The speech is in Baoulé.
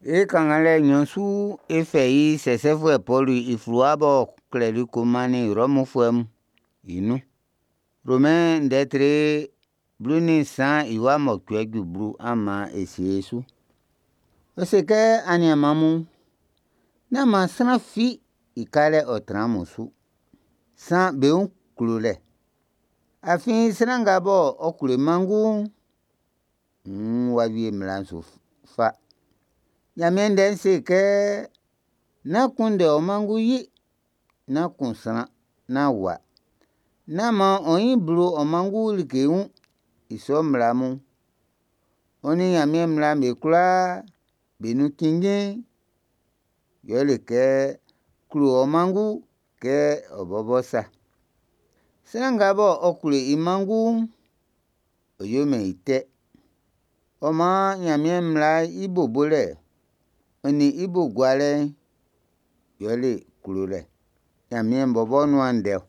E kannganlɛ nnyɔn su'n, e fɛ i sɛsɛfuɛ Pɔlu i fluwa b'ɔ klɛli ko mannin Rɔmfuɛ mun i nun. Romɛn ndɛ tre 13 i wa mɔcuɛ ju 10, an maan e sie e su. Ɔ se kɛ, aniaan mun, nán maan sran fi i kalɛ ɔ tran amun su, san be wun klolɛ. Afin sran nga bɔ ɔ klo i manngu'n, wuun w'a wie mmla'n su fa. Ɲanmiɛn Ndɛ'n se kɛ, nán kunndɛ ɔ manngu yi, nán kun sran, nán wua, nán maan ɔ nyin blo ɔ manngu like wun. I sɔ mmla mun, ɔ nin Ɲanmiɛn mmla'm be kwlaa be nun cinnjin'n, yɛle kɛ klo ɔ manngu kɛ ɔ bɔbɔ sa. Sran nga bɔ ɔ klo i manngu'n, ɔ yomɛn i tɛ. Ɔ maan Ɲanmiɛn mmla'n i bo bolɛ'n, ɔ nin i bo gualɛ'n, yɛle klolɛ. Ɲanmiɛn bɔbɔ nuan ndɛ ɔ.